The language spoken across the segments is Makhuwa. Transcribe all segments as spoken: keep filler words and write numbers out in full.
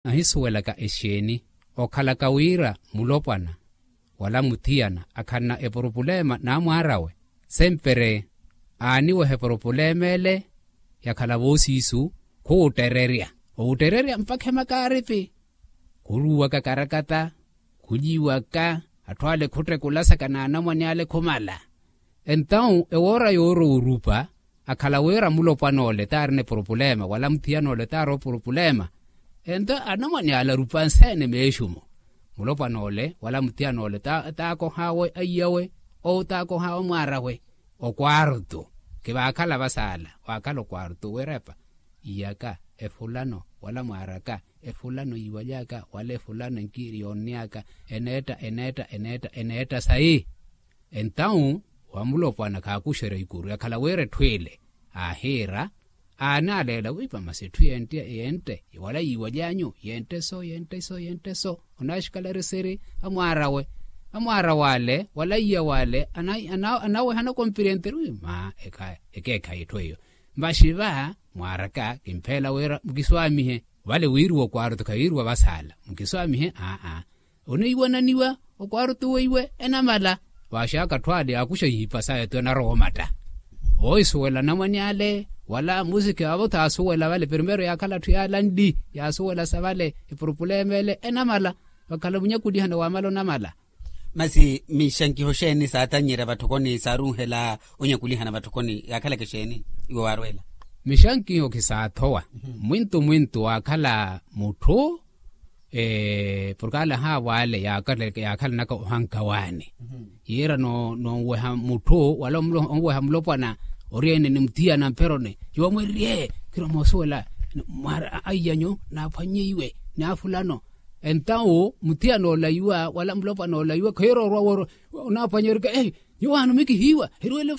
Ahisuwelaka exeeni okhalaka wira mulopwana wala muthiyana akhalana epurupuleema n'amwaar'awe, sempere aaniweha epurupuleema ele yakhala voosiisu khuwuttererya owuttererya mpakha emakaaripi. Khuruwaka karakata, khuliwaka, atthu ale khuttekulasa kanaanamwane ale khumala. Entawu ewoora yoorowa orupa akhala wira mulopwan'ole t'arina epurupuleema wala muthiyan'ole t'ari opurupuleema. Ento anamwane ale arupa nseene meexumo. Mulopwan'ole wala muthiyan'ole t'akoh'awe aiyawe, ou t'akoh'awe mwaar'awe. Okwaartu khivaakhala vasaala, waakhala okwaartu wirepa iyaka efulano wala mwaar'aka, efulano yiiwaly'aka wala efulano enkiiri yoonny'aka, eneetta eneetta eneetta eneetta sayi. Entawu wa mulopwana khaakuxerya ikuru yakhala wira etthu ile aahiira, aanaaleela wiipa masi etthu yente yente wala yiiwaly'anyu yente so yente so yente so. Onaaxikalariseri amwaar'awe, amwaar'awe ale wala iya wale anaweha anakompirenteri wi ma ekeekhayi etthu eyo. Masi va mwaar'aka kimpheela wira mukiswaamihe. Vale wiiriwa okwaartu khawiiriwa vasaala mukiswaamihe aa. Oniiwananiwa okwaartu weiwe enamala. Vaaxaka atthu ale yaakuxa ihipa saya ti onarowa omatta. Voohisuwela anamwane ale wala musiki avo t'asuwela vale primero yaakhala atthu yaalanli yaasuwelasa vale epurupuleema ele enamala. Vakhala munyakulihana waamala onamala. Masi mixankiho xeeni saatannyerya vatthokoni saarunhela onyakulihana vatthokoni yaakhalaka exeeni? Iwe waarweela. Mixankiho khisaathowa mwintu mwintu waakhala mutthu porke ale ahaavo ale yaakhalanaka ohankawaani yiira noonweha mutthu wala onweha mulopwana ori ene ni muthiyana mperoni. Yoomwererye khirwa moosuwela mwaari aiyanyu naaphwanyeiwe ni afulano. Entawu muthiyana olaiwa wala mulopwana olaiwa kheerorwa wooro onaaphwanya erika nyuwo aano mikihiiwa hirwele.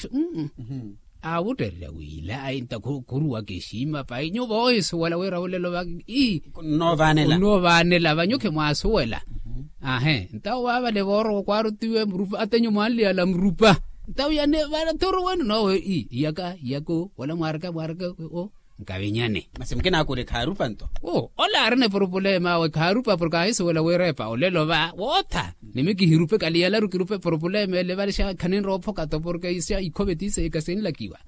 Aawuttererya wiila ayi nta khuruwaka exiima payi nyuwo voohisuwela wira olelo vaki ii. Nnoovanela nnoovanela vanyu khimwaasuwela. Ahe ntawo vaavale voorowa okwaarutiwe murupa atenyu mwaanliyala murupa. Ntawo yane vale thuru wenu noowe ii iyaka iyaka wala mwaaraka mwaaraka. Nkavinyane masi mukinaakule khaarupa nto. Ole arina epurupuleema awe khaarupa porke aahisuwela wiirepa olelo va wootha ni mikihirupe kaliyalaru kirupe epurupuleema ele vale xa khaninrowa ophoka to porke xa ikhove tiise ikasinlakiwa.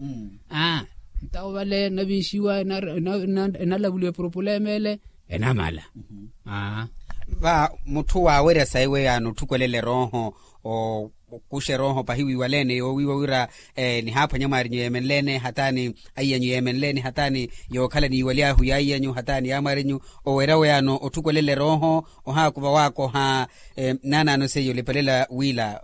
Aa ntawo vale enavinxiwa enalavuliwa epurupuleema ele enamala. Aa va mutthu waawerya sayi weyaano otthukwelele erooho okuxa erooho pahi wiiwaleene yoowiiwa wira nihaaphwanya mwaarinyu yeemenleene hataani aiyanyu yeemenleene hataani yookhala niiwaly'ahu yaiyanyu hataani yaamwaarinyu owerya weyaano otthukwelele erooho ohaakuva waakoha. Naanaano seiya olipelela wiila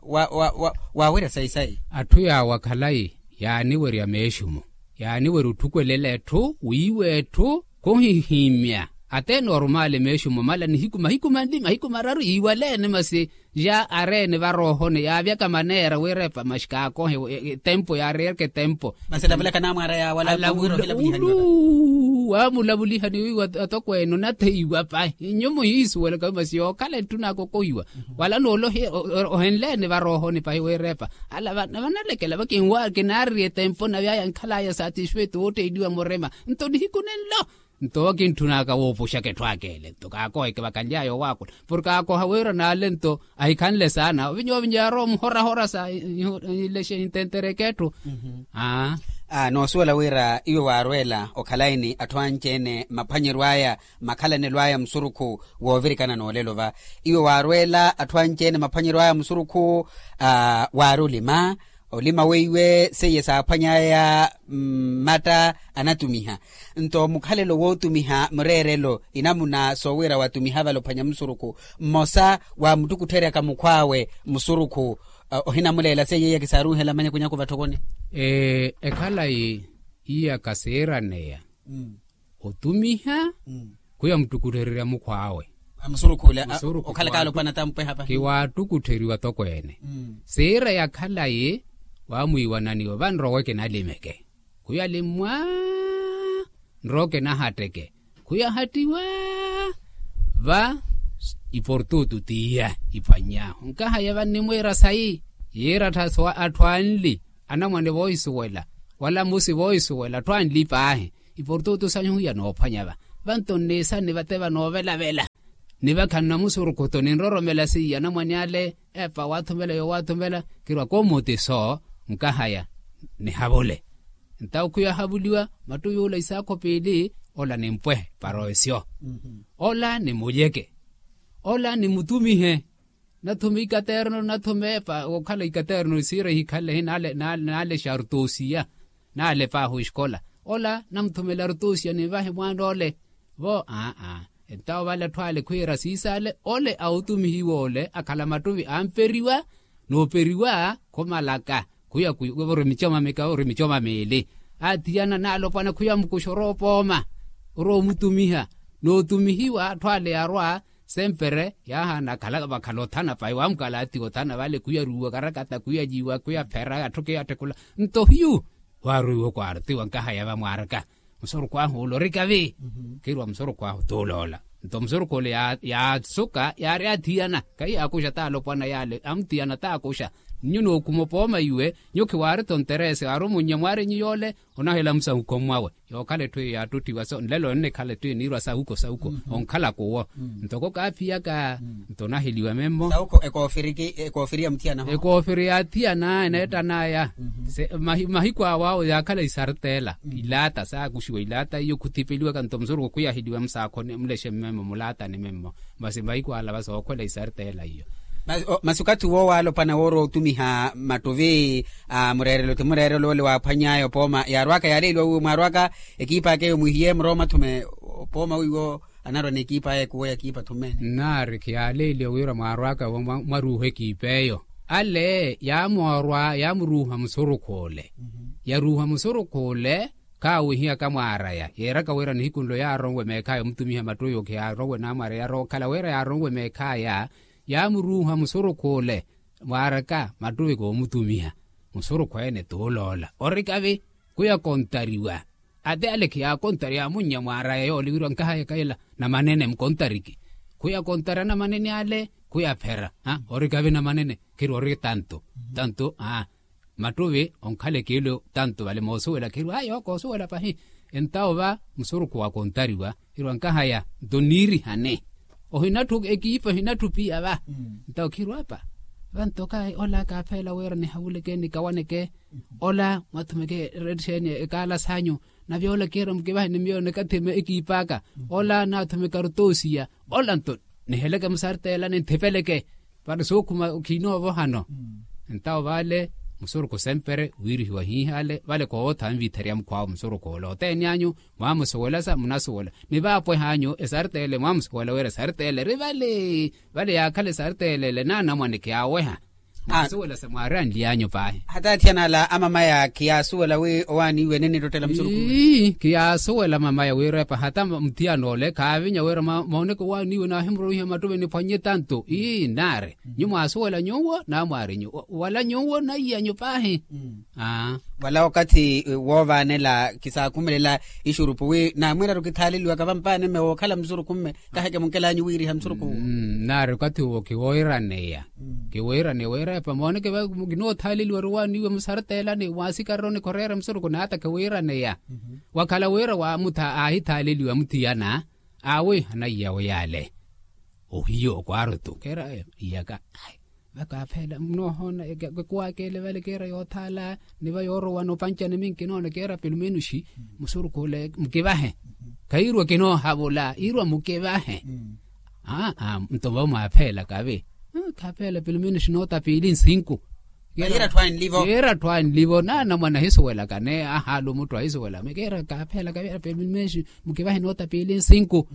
waawerya sayi sayi. Atthu yaawa khalayi yaaniwerya meexumo yaaniwerya otthukwelele etthu wiiwa etthu khuhihiimya ateene orumaale meexumo mala nihiku mahiku manli mahiku mararu yiiwaleene masi. Ya areene varoohone yaavyaka maneera wiirepa maxi kaakohe etempo yaareereke etempo. Masi elavelaka naamwaara yaawala. Alavula ulu waamulavulihani wiiwa atokweene onatheiwa pahi nyumu yiisuwelaka masi yookhala etthu naakokohiwa wala noolohi ohenleene varoohoni pahi wiirepa. Ala vanalekela vakinwa kinaarerya etempo navyaya nkhalaya satisfeito wootteeliwa murima nto nihiku nenlo. Nto wakintthunaaka woopuxaka etthu aka ele nto kaakoheke vakaly'aya owaakula porke aakoha wira naale nto ahikhanle saana ovinya ovinya yaarowa muhorahora sa inlexe intentereke etthu. Aa noosuwela wira iwe waarweela okhalayi ni atthu anci-ene maphwanyeryo aya makhalanelo aya musurukhu woovirikana n'olelo va iwe waarweela atthu anci-ene maphwanyeryo aya musurukhu waari olima olima weiwe seiye saaphwany'aya mmatta anatumiha. Nto mukhalelo wootumiha mureerelo inamuna soowira watumiha vale ophwanya musurukhu mmosa waamuttukuttherya kamukhw'awe musurukhu ohinamuleela seiye iya kisaarunhela manyakunyaku vatthokoni. Ekhalayi iya kasiiraneya otumiha khuya muttukutthererya mukhw'awe. Musurukhu ule okhalaka alopwana tampweha pahi kiwaattukuttheriwa tokweene siira ya khalayi waamwiiwananiwa vanrowe kinalimeke khuya limmwa nrowe kinahatteke khuya hattiwa va iportutu t'iya iphwany'ahu nkahaya vannimwiira sayi yiira atthu anli anamwane voohisuwela wala mmusi voohisuwela atthu anli paahi iportutu sanyu hiya noophwanya va Vanto nniisa ni vate vanoovelavela ni vakhanna musurukhu to ninroromela siiya anamwane ale. Epa waathumela yowaathumela kirwa komotiso nkahaya nihavule. Ntawo khwiya ahavuliwa mattuvi ola isaakho piili. Ola nimpwehe paroesyo, ola nimuyeke, ola nimutumihe. Nathume ikaterno nathume epa okhala ikaterno siira ihikhalehi naale shartosiya. Naale paahi oxikola ola namuthumela artosiya ninvahe mwaan'ole. Vo aa. Entawo vale atthu ale khwiira siisaale ole awutumihiwa ole akhala mattuvi amperiwa nooperiwa khomalaka. Khwiya khwiya ori micoma mika ori micoma miili. Athiyana naalopwana khwiya mukuxa oroopooma oroomutumiha nootumihiwa atthu ale yaarwa. Sempere yaahaana akhala vakhala othana pahi waamukala atiwa othana vale khwiya aruuwa karakata khwiya yiiwa khwiya phera atthu khwiya attekula. Nto hiyu waarwiiwa okwaarutiwa nkahaya vamwaaraka musurukhu ahu ole orikavi. Khirwa musurukhu ahu tuuloola nto musurukhu ole yaasuka yaari athiyana kahi yaakuxa taalopwana yaale amuthiyana taakuxa. Nyu nookhuma opooma iwe nyu khiwaari-tho nterese aari omunnya mwaari nyu yoole. Onahela musahukho mwawe yookhala etthu eyo yaattuttiwa so nlelo onnikhala etthu eyo niirwa sahuko sahuko onkhalaka owo. Ntoko kaaphiyaka nto onaheliwa memmo. Sahuko ekoofiri ya muthiyana ho. Ekoofiri yaathiyana eneettanaya. Mahiku awo awo yaakhala isartela ilaata saakuxiwa ilaata iyo khuthipeliwaka nto musurukhu khwiyaheliwa musaakhoni mulexe mmemmo mulaatani memmo. Masi mahiku ala va sookhwela isartela iyo. Masi okathi uwo waalopwana woorowa otumiha mattuvi a mureerelo ti mureerelo ole waaphwany'aya opooma yaarwaka yaaleeliwa wiiwo mwaarwaka ekiipa aka eyo mwihiye murowa mathume opooma wiiwo anarwa n'ekiipa aya ekuwo ya ekiipa thume. Nnaari khiyaaleeliwa wira mwaarwaka mwaruuha ekiipa eyo ale yaamoorwa yaamuruuha musurukhu ole. Yaruuha musurukhu ole khaawihiya kamwaaraya yeeraka wira nihiku nlo yaaronwe meekhaya omutumiha mattuvi okhiyaaronwe naamwaaraya yarookhala wira yaaronwe meekhaya. Yaamuruuha musurukhu ole mwaaraka mattuvi koomutumiha. Musurukhu ene tuuloola orikavi khwiya kontariwa. Ate ale khiyaakontari yaamunnya mwaaraya yoole wirwa nkahaya kaila namanene mukontariki. Khwiya kontari anamanene ale khwiya phera orikavi namanene khirwa ori tanto tanto. Mattuvi onkhala ekiilo tanto vale moosuwela khirwa ayo koosuwela pahi. Entawo va musurukhu waakontariwa khirwa nkahaya nto niirihane. Ohinatthu ekiipa ohinatthu piya va ntawo khirwa apa. Vanto kahi ola kaaphela wira nihavuleke nikawaneke ola mwathumeke rettixeeni ekaala sanyu. Nave ola kiira mukivahe ni miyo nikathime ekiip'aka ola naathumeka rutosiya ola nto niheleke musartela ninthipeleke. Vano sookhuma khiinoovohano. Ntawo vale musurukhu sempere wiirihiwa hiihale vale koowotha anvitherya mukhwaawe musurukhu ole oteeni anyu mwaamusuwelasa munasuwela ni vaapweha anyu esartele mwaamusuwela wira esartele eri vale. Vale yaakhala esartele ele naanamwane khiyaaweha. Mwaamusuwelasa mwaaranli anyu paahi. Hata athiyana ala amamaya khiyaasuwela wi owaaniiwe ninittottela musurukhu. Khiyaasuwela mamaya wira epa hata muthiyana ole khaavinya wira mooneke owaaniiwe naahimurowiha mattuvi niphwannye tanto ii nnaari. Nyu mwaasuwela nyuwo naamwaari nyuwo wala nyuwo naiya nyu paahi. Wala wakathi woovaanela khisaakhumelela ixurupu wi naamwiiraru kithaaleliwaka vampaani mme wookhala musurukhu mme. Kaheke munkelanyu wiiriha musurukhu. Nnaari wakathi uwo khiwoiraneya. Khiwoiraneya wira epa mooneke va kinoothaleliwa ori owaaniiwe musartelani mwaasikari ori nikhoreera musurukhu naata khiwoiraneya. Wakhala wira wa mutha aahithaleliwa muthiyana awe anaiyawe yaale. Ohiyo okwarutu keera iyaka. Vakaafela munoohoona ekuwaka ele vale keera yoothaala ni va yoorowa noopanca ni minkinoona keera pelumenuxi musurukhu ole mukivahe. Khairwa kinoohavula irwa mukivahe. Aa nto vamwaapheela kavi. Khaapheela pelumenuxi noota piili nsinku. Yeera atthu anlivo naanamwana ahisuwelaka ne ahaalu mutthu ahisuwela keera kaaphela kaveera pelumenxi mukivahe noota piili nsinku.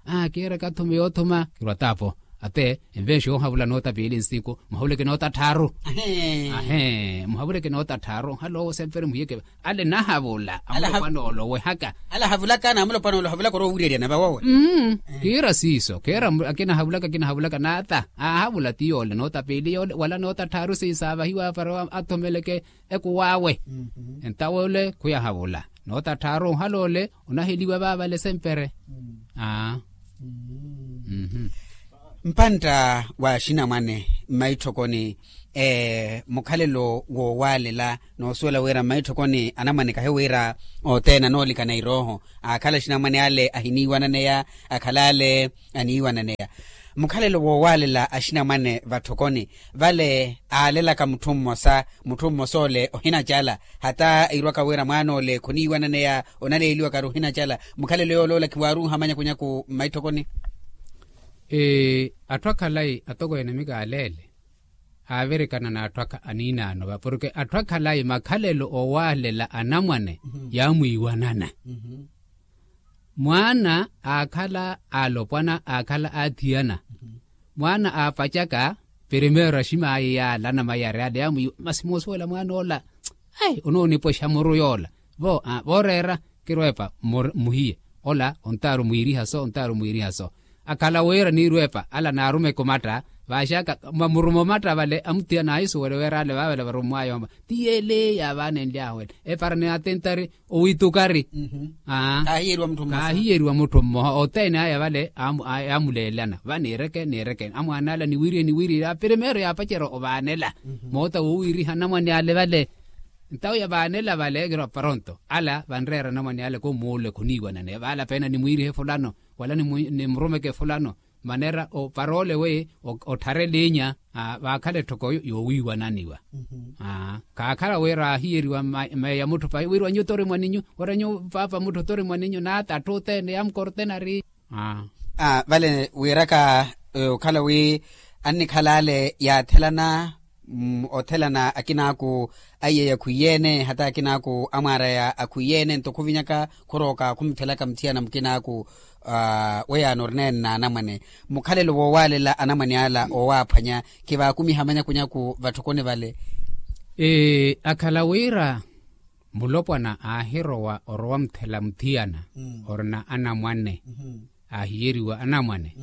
Aa keera kathuma yoothuma kirwa taapo ate envenxi yoohavula noota piili nsinku muhavuleke noota tthaaru. Ahe muhavuleke noota tthaaru nhalowo sempere muhiyeke ale nahavula amulopwana olowehaka. Ale ahavulaka naamulopwana olohavulaka oroowireryana vawowe. Kiira siiso keera akinahavulaka akinahavulaka naata aahavula ti yoole noota piili yoole wala noota tthaaru siisaavahiwa para athomeleke ekuwaawe. Entawo ole khuyahavula noota tthaaru ohaloole onaheliwa vaavale sempere. Aa. Mpantta w'axinamwane mmaitthokoni mukhalelo woowaalela noosuwela wira mmaitthokoni anamwane kahi wira othene anoolikana irooho aakhala axinamwane ale ahiniiwananeya akhala ale aniiwananeya. Mukhalelo woowaalela axinamwane vatthokoni vale aalelaka mutthu mmosa mutthu mmosa ole ohinacala hata irwaka wira mwaana ole khoniiwananeya onaleeliwaka ari ohinacala. Mukhalelo yooloola khiwaaruuha manyakunyaku mmaitthokoni. Atthu akhalayi atokweene mika aleele aavirikana n'atthu aniinaano va porke atthu akhalayi makhalelo owaalela anamwane yaamwiiwanana. Mwaana aakhala aalopwana aakhala aathiyana mwaana aapacaka primeiro aximaayi yaala anamayari ale yaamwiiwa masi moosuwela mwaana ola. Ai onoonipwexa muru yoola vo vooreera kirweepa muhiye ola ontaari omwiiriha so ontaari omwiiriha so. Akhala wira niirweepa ala naarumeke omatta vaaxaka mwa muruma omatta vale amuthiyana aahisuwele wira ale vaavale varummwaya oma ti yeele yaavaanenly'ahu ele epara ni atentari owitukari. Kaahiyeriwa mutthu mmoha othene aya vale yaamuleelana va niireke niireke amwaana ala niwirihe niwirihe primeiro yaapacerya ovaanela moota woowiriha anamwane ale vale. Ntawo yavaanela vale kira paronto ala vanreera anamwane ale komuule khoniiwanane vaala peena nimwiirihe fulano wala nimurumeke fulano manera opara ole wi ottharelinya vaakhala etthoko yoowiiwananiwa. Kaakhala wira aahiyeriwa meya mutthu pahi wira nyuwo tori mwaninyu wira nyuwo paapa mutthu tori mwaninyu naata atthu othene yaamukortenari. Vale wiiraka okhala wi annikhala ale yaathelana othelana akinaaku aiyeya akhwiiyeene hata akinaaku amwaaraya akhwiiyeene nto khuvinyaka khurooka khumuthelaka muthiyana mukinaaku. Weyaano orinene n'anamwane mukhalelo woowaalela anamwane ala oowaaphwanya khivaakumiha manyakunyaku vatthokoni vale. Akhala wira mulopwana aahirowa orowa muthela muthiyana orina anamwane aahiyeriwa anamwane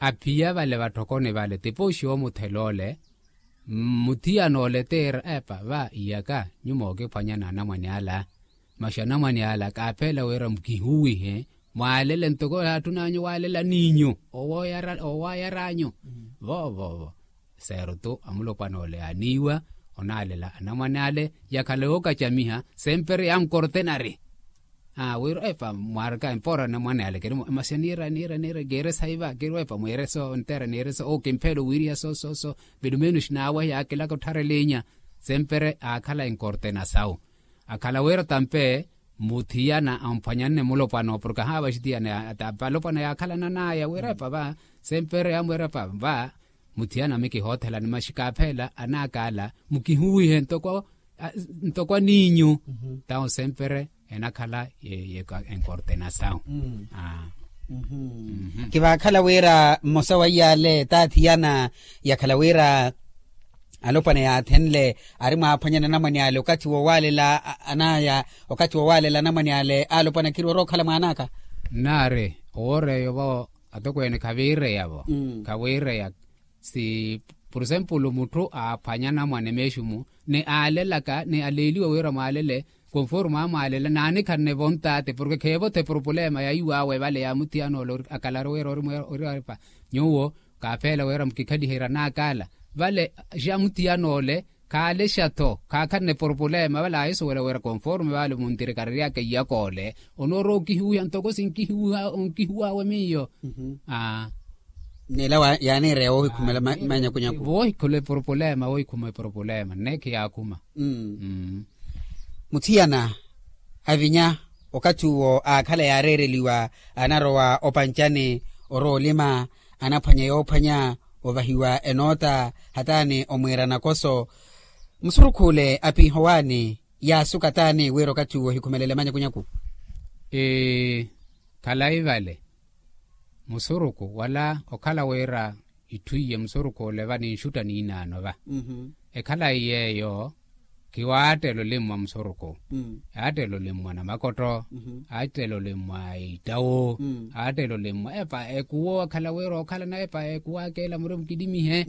aphiya vale vatthokoni vale tipooxiwa omuthela ole. Muthiyana ole tiira epa va iyaka nyuwo mookiphwanya n'anamwane ala masi anamwane ala kaapheela wira mukihuwihe mwaalele ntoko yaattun'anyu waalela n'inyu owaayar'anyu. Voovoovo seerutu amulopwana ole yaaniiwa onaalela anamwane ale yakhala yookacamiha sempre yaamukortenari. Wira epa mwaaraka empoora anamwane ale kiri masi niira niira niira kiire sayi va kiri epa mwiire so nteera niire so oo kimpheela owiiriha so so so. Pilumenos naawe yaakilaka ottharelinya sempre aakhala enkortena sawu akhala wira tampe muthiyana amphwanyanne mulopwana owo porke ahaava axitiyana alopwana yaakhalanan'aya wira epa va sempre yamwira epa va muthiyana mikihoothelani maxi kaapheela anaaka ala mukihuwihe ntoko aniinyu. Tawo sempre enakhala enkortena sawu. Kivaakhala wira mmosa wa iyaale t'athiyana yakhala wira alopwana yaathenle ari mwaaphwanyana anamwane ale okathi woowaalela anaya okathi woowaalela anamwane ale alopwana khirwara okhala mwaan'aka. Nnaari owoor'eyo vo atokweene khaviireya vo khaviireya. Si por esempulu mutthu aaphwanya anamwane meexumu ni aalelaka ni aleeliwa wira mwaalele konforme amwaalela n'anikhanne vontaate porke kheevothe eporopolema ya iwaawe vale ya muthiyana ole akalaru wira ori mweera ori aripa nyuwo kaapheela wira mukikhaliherya n'akaala vale xa muthiyana ole khaalexa-tho khaakhanne eporopolema vale aahisuwela wira konforme vale muntirikariryaka iyaka ole onoorowa okihuwiha ntoko sinkihuwiha onkihuw'awe miyo. Neela yaaniireya woohikhumela manyakunyaku. Woohikhula eporopolema woohikhuma eporopolema nneekhi yaakhuma. Muthiyana avinya okathi uwo aakhala yaareereliwa anarowa opancani orowa olima anaphwanya yoophwanya ovahiwa enoota hataani omwiira nakoso. Musurukhu ole apiiha owaani yaasuka taani wira okathi uwo ohikhumelele manyakunyaku. Khalayi vale musuruku wala okhala wira itthu iye musuruku ole va ninxutta niinaano va. Ekhalayi yeeyo khiwaattela olimmwa musuruku. Aattela olimmwa namakotto aattela olimmwa ittawu aattela olimmwa epa ekuwo akhala wira okhalana epa ekuwo akeela muri mukilimihe.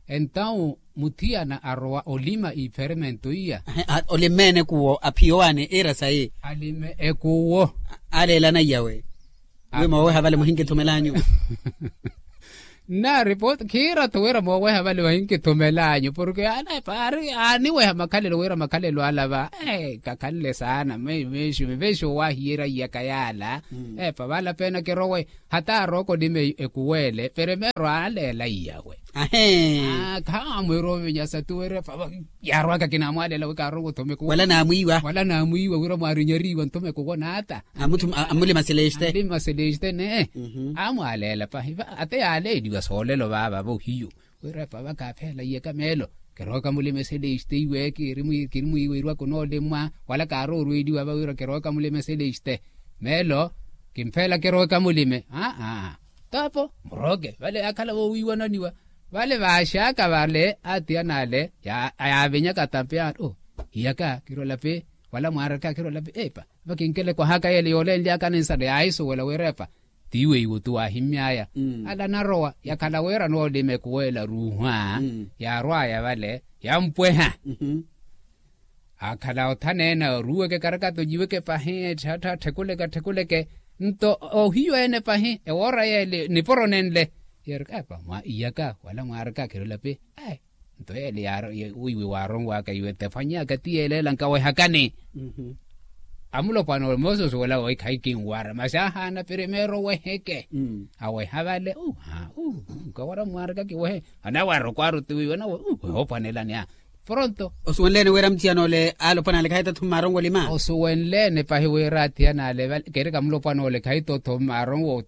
Entawu muthiyana arowa olima iferemento iya. Olimmene kuwo aphiya owaani iira sayi alime ekuwo. Aleelana iyawe wi mooweha vale muhinkithumelanyu. Nnaari pooti khiira-tho wira mooweha vale vahinkithumelanyu porke anepa aari aaniweha makhalelo wira makhalelo ala va kakhalele saana meexiwe veexoowahiyerya iyaka yaala. Epa vale apeena kirowe hata arooko nime ekuwele peremeero aaleela iyawe. Khaamwiira ovinyasa tuwira epa yaarwaka kinaamwaaleela wi kaarowa othuma ekuwele wala naamwiiwa wira mwaarinyariiwa nthuma ekuwo naata. Amulima seleste. Amulima seleste ne amwaaleela pahi va ate yaaleeliwa soolelo vaava vohiyu wira epa va kaapheela iyaka meelo. Kirowaka mulima seleste iwe kirimwiiweriwa kunoolimwa wala kaaroorweeliwa va wira kirowaka mulima seleste meelo. Kimpheela kirowaka mulime aa taapo murooke vale yaakhala voowiiwananiwa vale vaaxaaka vale atiyana ale yaavinyaka tampi yaari iyaka kirolapi wala mwaaraka kirolapi epa. Vakinkele kwahaka yele yoolenlyaka ninsale yaahisuwela wira epa tiiwe iwo tu waahimmyaya ala narowa yakhala wira noolima ekuwela ruuhwa yaarwaya vale yampweha. Akhala othaneene aruweke karakato nyiweke pahi etthattha atthikuleke atthikuleke nto ohiyu ene pahi ewoora yele niporo nenle yeerika epa mwa iyaka wala mwaarika khirolapi. Nto yele wiiwe waaronwaka iwe tefwanyaka ti yeeleela nkawehakani. Amulopwana ole moososi wala woyi khayi kinwara masi ahaana primeiro weheke aweha vale nkawara mwaarika kiwehe anawara okwaara otiwiiwe anawe wehe opwanelani a pronto. Osuwenleene wira muthiyan'ole alopwan'ale khayi tathuma aronwa olima osuwenleene pahi wira athiyan'ale vale kerika mulopwan'ole khayi tothoma aronwa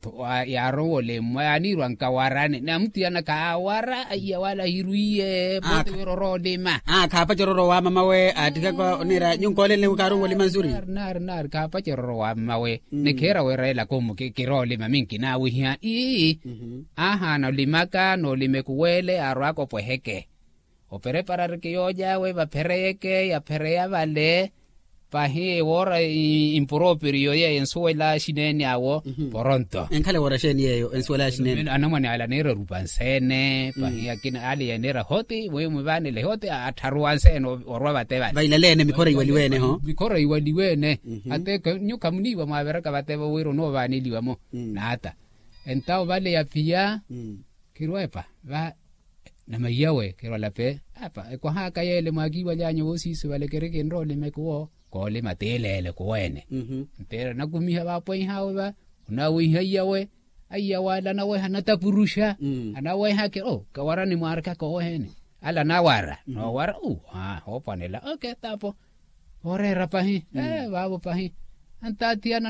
yaaronwa olimwa yaaniirwa nkawarani na muthiyana khaawara aiya wala ahirwiye pooti wira orowa olima. Khaapacerya ororo wa mamawe aattikaka oniira nyunkoolenle wi kaaronwa olima nsuri. Naari naari khaapacerya ororo wa mamawe ni khiira wira ela komu kirowa olima minki naawihiha ii ahaana olimaka noolima ekuwele yaarwaka opweheke opereparariki yoojaawe vaphereyeke yaphereya vale. Pahi ewoora impuroperiyo yeyo ensuwela xineene awo poronto. Enkhala ewoora xeeni yeyo ensuwela xineene anamwane ale aniira erupa nseene pahi akina ale yaniira hoti mwiimu vaanile hoti attharuwa nseene orwa vate vale vailaleene mikhora iwaliweene-ho. Mikhora iwaliweene ate nyu khamuniiwa mwaaviraka vate vo wira onoovaaneliwa-mo naata entawo vale yaphiya. Khirweepa va namaiyawe khirwalape apa ekwahaka yeele mwaakiiwaly'anyu woosiisi vale kiri kinroolima ekuwo koolima tiileele kuweene. Nteera nakumiha vaapweihawe va onaawiiha aiyawe aiyawe ale anaweha anatapuruxa anaweha kiri o kawarani mwaarikaka oweheene ale anawara noowara u hoopwanela oke taapo. Ooreera pahi vaavo pahi antaatiyana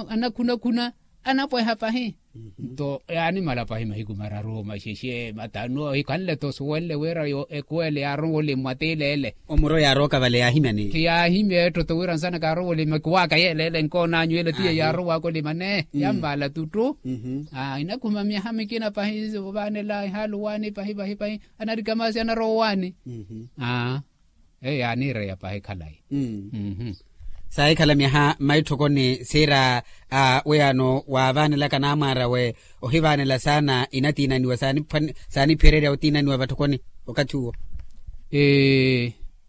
anakhuna khuna anapweha pahi. Nto yaanimala pahi mahiku mararu maxexe matanu ohikhanle-tho osuwenle wira ekuwele yaarowa olimwa tiileele. Omuro yaarooka vale yaahimyani khiyaahimya ettotto wira nsana kaarowa olimwa ekuwaaka yeeleele nkoon'anyu ele tiye yaarow'aka olimwa ne yammala tuttu. Inakhuma myaha mikina pahi ovaanela ehaalu waani pahi pahi pahi anarikamaasi anarowa owaani. Eyo yaaniireya pahi khalayi. Saahikhala myaha mmaitthokoni siira a wiyano waavaanelaka naamwaarawe ohivaanela saana inatiinaniwa saaniphererya otiinaniwa vatthokoni okathi uwo.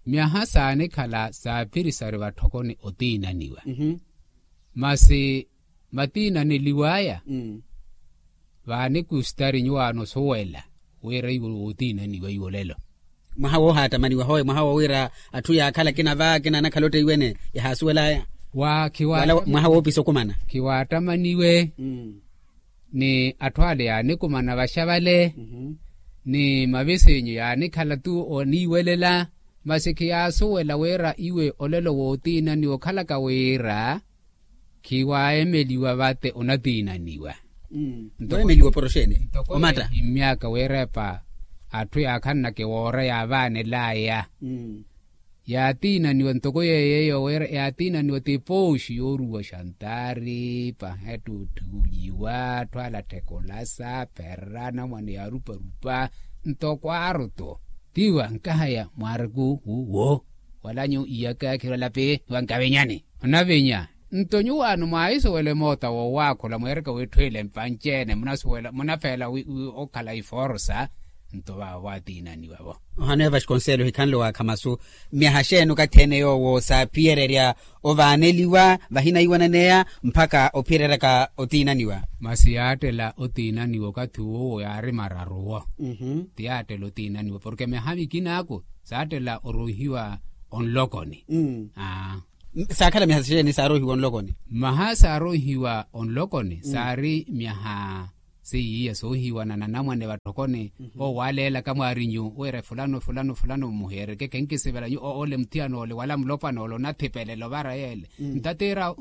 Myaha saanikhala saaphirisari vatthokoni otiinaniwa masi matiinaneliw'aya vaanikustari nyuwaano osuwela wira iwo wootiinaniwa iwo lelo. Mwaha woohaattamaniwa howe mwaha woowira atthu yaakhala akina va akina anakhala otteiwene yahaasuwel'aya. Mwaha woopisa okumana khiwaattamaniwe ni atthu ale yaanikumana vaxavale ni mavisinyu yaanikhala-tu oniiwelela masi khiyaasuwela wira iwe olelo wootiinaniwa okhalaka wira khiwaemeliwa vate onatiinaniwa. Ntoko weemeliwa oporoxeene ntoko omatta ehimmyaka wiirepa atthu yaakhananaka ewoora yaavaanel'aya yaatiinaniwa ntoko yeeyo wira yaatiinaniwa ti pooxi yooruwa xantaari pahettutthuliwa atthu alatthekolasa pherera anamwane yaaruparupa ntoko aaru-tu tiwa nkahaya mwaariku wuwo wala nyu iyaka khirwalapi tiwa nkavinyani. Onavinya nto nyuwaano mwaahisuwela emoota woowaakhula mweereka wiitthu ile mpanci-ene munafeela okhala iforosa Nto vaavo vaatiinaniwa-vo. Ohanoya vasconselho hikhanle waakhamasu. Myaha xeeni okathi ene yoowo saaphiyererya ovaaneliwa vahina iwananeya mpakha ophiyereryaka otiinaniwa? Masi yaattela otiinaniwa okathi uwo yaari mararu-wo. Ti yaattela otiinaniwa porke myaha mikinaaku saattela oroohiwa onlokoni. Saakhala myaha xeeni saaroohiwa onlokoni? Mmaha saaroohiwa onlokoni saari myaha seiya soohiwana na namwane vatthokoni. Owo waaleelaka mwaarinyu wira fulano fulano fulano muheereke khenkisivela nyu ole muthiyan'ole wala mulopwan'ole onathipelela ovara yeele. Ntateera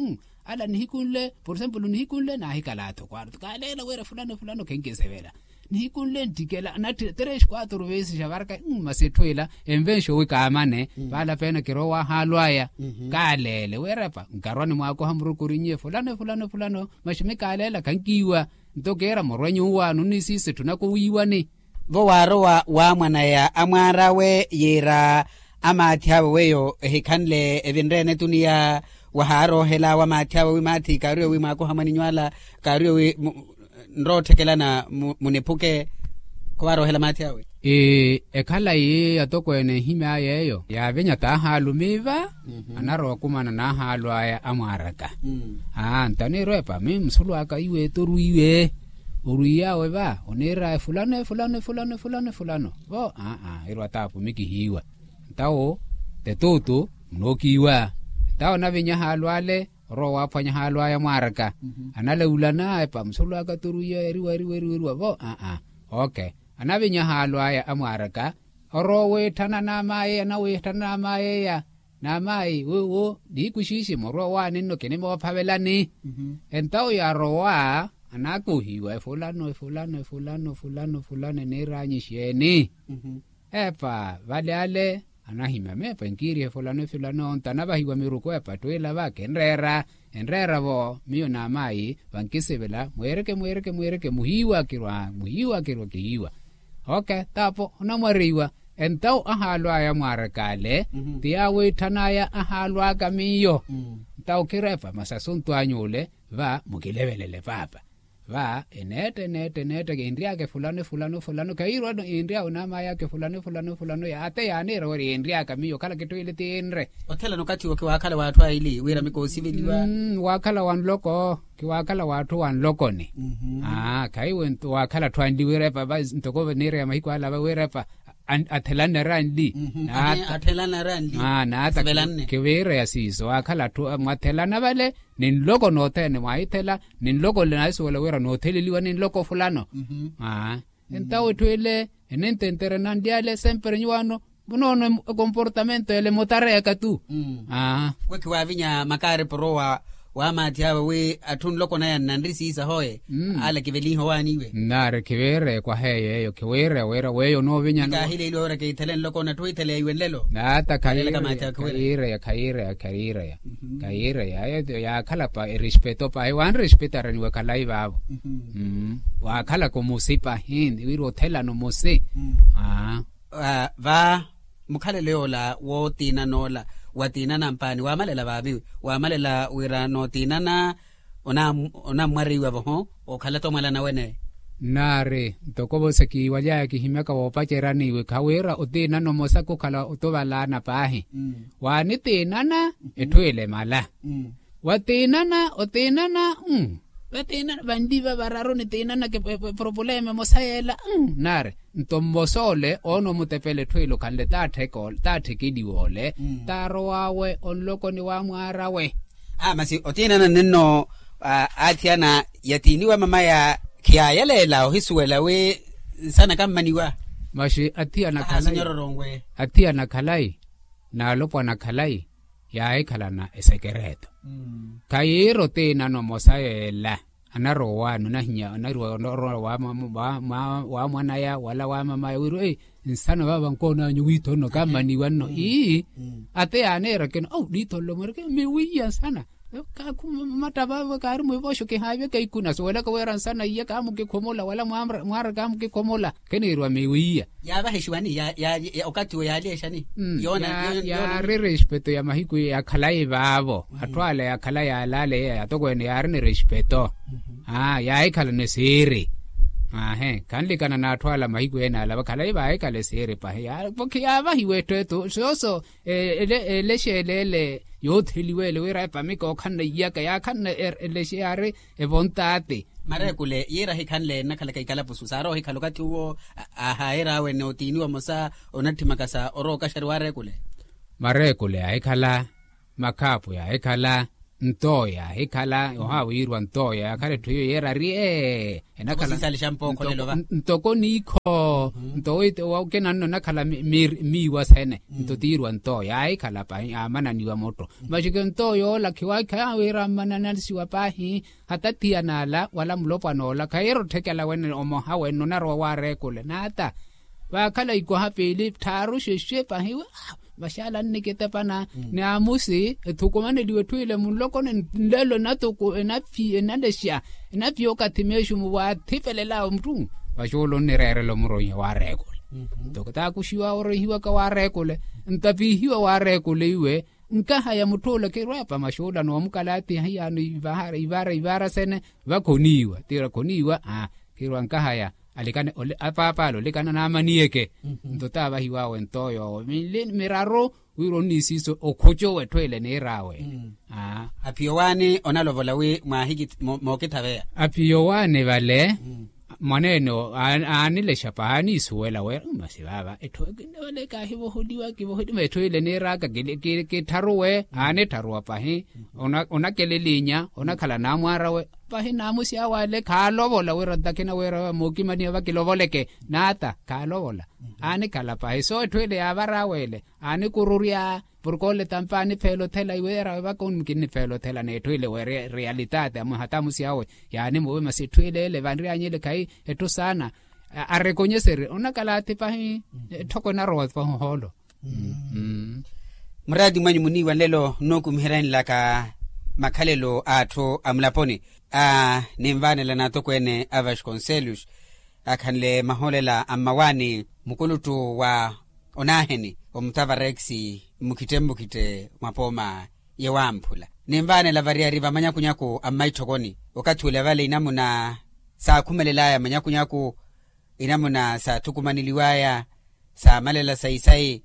ala nihikunle por exemplo nihikunle naahikala atho kwaaruthu kaaleela wira fulano fulano khenkisivela. Nihikunle nttikela na tres quatro veses xavaraka. Masi etthu ila envenxo wi kaamane vaala peena kirowa wahaalu aya. Kaaleele wira epa nkarwani mwaakoha murukuri nyiye fulano fulano fulano. Maxi mi kaaleela khankiiwa. Nto kiira murwe nyuwaano nnisiisa etthu nako wiiwani. Vo waarowa waamwanaya amwaar'awe yiira amaathi awe weiyo ehikhanle evinre-ene etuniya wahaaroohela wamaathi awe wi maathi kaariwe wi mwaakoha mwaninyu ala kaariwe wi nrootthekelana muniphuke. Khuvaaroohela maathi awe. Ekhalayi atokweene ehimy'aya eyo yaavinya taahaalumiiva anarowa okumana n'ahaalu aya amwaaraka. Aa nto aniirwa epa mi musulu aka iwe eto orwiiwe orwiiy'awe va oniir'aya fulano efulano efulano efulano vo aa irwa taapu mi kihiiwa. Ntawo tetuutu munookiiwa. Ntawo anavinya ahaalu ale orowa waaphwanya ahaalu aya amwaaraka. Analaulana epa musulu aka torwiiya eriwa eriwa eriwa eriwa vo aa. Ok. Anavinya ahaalu aya amwaaraka orowa owiitthana n'amaayeya nawiitthana n'amaayeya. N'amaayi wuwo nihiku xiixi murwe owaani nno kinimoophavelani. Entawo yaarowa anaakohiwa efulano efulano efulano efulano efulano eniiraanyu exeeni? Epa vale ale anahimya meepa enkiiriha efulano efulano nto anavahiwa miruku epa etthu ila va kinreera. Enreera-vo miyo n'amaayi vankisivela mweereke mweereke mweereke muhiiwa kirwa muhiiwa kirwa kihiiwa. Ok taapo onamwareiwa. Entawo ahaalu aya amwaaraka ale ti yaawiitthana aya ahaalu aka miyo. Ntawo khira epa masi asuntu anyu ole va mukilevelele paapa. Va eneetta eneetta eneetta kiinry'aka efulano efulano efulano khayiirwa no yiinry'awe n'amayi aka efulano efulano efulano yaate yaaniira wira yiinry'aka miyo okhala kitthu ili tiinre. Othelana okathi wo khiwaakhala w'atthu aili wira mikoosiveliwa. Waakhala wa nloko khiwaakhala w'atthu wa nlokoni. Aa khayi we waakhala atthu anli wira epa ntoko niireya mahiku ala va wira epa athelana ari anli. Naata khiviireya siiso waakhala atthu mwathelana vale ni nloko nothene mwaahithela ni nloko nle naahisuwela wira nootheleliwa ni nloko fulano. Aa entawo etthu ele enententere nanli ale sempre nyuwaano munoono ekomportamento ele mutareyaka tu. Aa we khiwaavinya makaari porowa wamaathi awe wi atthu nlokonaya nnanri siisa hoye. Ale kivelinhe owaaniwe nnaari khiviireya kwaheeyo eyo khiwiireya wira weyo onoovinya. Kaahileeliwa wira kiithele nlokona etthu witheleya iwe nlelo. Naata khayiireya khayiireya khayiireya khayiireya yaakhala pa erespeto pahi wanrespetaraniwe khalayi vaavo. Waakhalaka omusi pahi wira othelana omusi. Aa va mukhalelo yoola wootiinana ola watiinana mpaani waamalela vaavi wamalela wira nootiinana onammwareiwa voho okhala tomwalana wene. Nnaari ntoko vosa kiiwaly'aya kihimyaka woopacerani iwe khawira otiinana omosa khukhala otuvalaana paahi. Waanitiinana etthu ile emala watiinana otiinana. Vatiinana vanli va vararu nitiinana kipropuleme emosa yeela. Nnaari nto mmosa ole oona omutepela etthu ile okhanle taatthekeliwa ole taarow'awe onlokoni wamwaar'awe. Aa masi otiinana nenno aathiyana yatiiniwa mamaya khiyaayaleela ohisuwela wi nsana kammaniwa. Masi athiyana khalayi naalopwana khalayi yaahikhalana esekereto. Khayiira otiinana omosa yeela anarowa owaani onahinya anarowa orowa wa mwanaya wala wa mamaya wira ei nsana vaava nkoonanyu wiitho nno kammaniwa nno ii. Ate yaaniira kino au niitho nlo mweereke miwiiya nsana. Kaakhu matta vaavo kaari mwiivooxo kihaavya kaikuna suwelaka wira nsana iya kaamukikhumula wala mwaara kaamukikhumula. Kiniiriwa miwiiya yaavaha exiwani. Okathi wo yaali exani? Yaari respeto ya mahiku iya yakhalayi vaavo atthu ala yakhalayi alaale iya yatokweene yaari ni respeto. Aa yaahikhala ni siiri. Aahe khanlikana n'atthu ala mahiku ene ala vakhalayi vaahikhala esiiri pahi. Pokhi yaavahiwa etthu etu sooso elexeele ele yootheliwa ele wira epa mika okhanna iyaka yaakhanna elexeyari evontaati. Mareekule yiira ahikhanle ennakhalaka ikalapusu saari ohikhala okathi uwo. Ahaayer'awe ni otiiniwa mosa onatthimaka sa orowa okaxari waareekule. Mareekule yaahikhala makhaapu yaahikhala ntooyo yaahikhala ohaawiirwa ntooyo yaakhala etthu iyo yeerari ee. Ntoko niikho nto kinanno enakhala miiwa sene nto tiirwa ntooyo yaahikhala pahi yaamananiwa mutto. Maxike ntooyo ola khiwaakha wiira ammananisiwa pahi. Hata thiyana ala wala mulopwana ola khahiira otthekela wene omoha wene onarowa waareekule naata. Vaakhala ikoha piili tthaaru xexe pahi. Vaxaala annikitepana ni amusi ethukumaneliwe etthu ile munlokoni nlelo enatuku enaphi enalexa enaphi okathi meexumu waathipelel'awe mutthu. Vaxuula onnireerela omuroiha waareekule nto taakuxiwa oroihiwaka waareekule ntapihiwa waareekule iwe. Nkahaya mutth'ula khirwepa maxuula n'omukalaatiha iyaano ivara ivara sene vakhoniiwa tira khoniiwa. Khirwa nkahaya alikane apaap'ale olikana naamaniyeke nto taavahiw'awe ntooyo owo mili miraru wira onniisiiso okhucu w'etthu ele niir'awe. Aphiyo waani onalovola wi mwaahiki mookithaveya. Aphiyo waani vale mwaneene aanilexa pahi aaniisuwela wira masi vaava etthu vale kaahivoholiwa kivoholiwa etthu ile niir'aka kittharuwe aanittharuwa pahi. Onakelelinya onakhala naamwaar'awe pahi naamusi awe ale khaalovola wira ntakina wira mookimaniwa vakilovoleke naata khaalovola. Aanikhala pahi so etthu ile yaavar'awe ele aanikururya porke ole tampa anipheela othela iwe yarawe vaka onkinipheela othela n'etthu ile we realitaati amuhata amusi awe. Yaanimuve masi etthu ile ele vanry'anyu ele khayi etthu saana arekonyeseri onakalaati pahi. Etthoko enarowa pahi ohoolo. Muraati mwanyu muniiwa nlelo nnookumiheryani laka makhalelo a atthu a mulaponi. Ninvaanela n'atokweene a vasconcelos akhanle mahoolela a mmawaani mukuluttu wa onaaheni omutavarex mmukhitte mmukhitte mwa pooma yewamphula. Ninvaanela variyari va manyakunyaku a mmaitthokoni okathi ula vale inamuna saakhumelel'aya manyakunyaku inamuna saathukumaneliw'aya saamalela sayi sayi.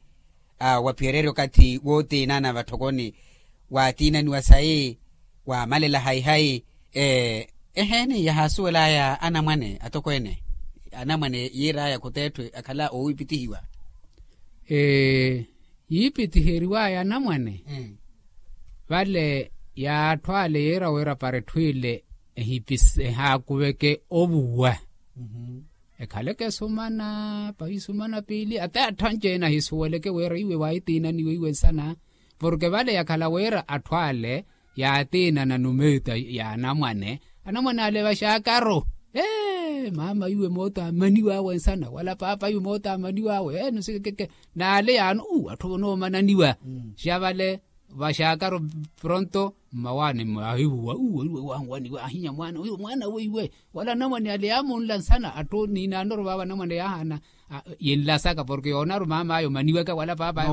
Wa piyereerya okathi wootiinana vatthokoni waatiinaniwa sayi waamalela hayi hayi. Eheeni yahaasuwel'aya anamwane atokweene anamwane yiir'aya khuteetthwe akhala oowipitihiwa. Yiipitiheriw'aya anamwane vale yaatthu ale yiira wira para etthu ile ehaakuveke ovuwa. Ekhaleke esumana pahi esumana piili ata atthu anci-ene ahisuweleke wira iwe waahitiinaniwe iwe nsana. Porke vale yakhala wira atthu ale yaatiinana numeeta ya anamwane anamwane ale vaxaakaru. Maama iwe moota amaniw'awe nsana wala paapa iwe moota amaniw'awe enu sikekeke n'ale yaano uu atthu vonoomananiwa. Xa vale vaxaakaru pronto mmawaani ahivuwa uwo iwe wanwaniwa ahinya mwaana uyo mwaana weiwe. Wala anamwane ale yaamunla nsana atthu niinaanoru vaava anamwane yaahaana yinlasaka porke yoonaru maam'aya omaniwaka wala paap'aya.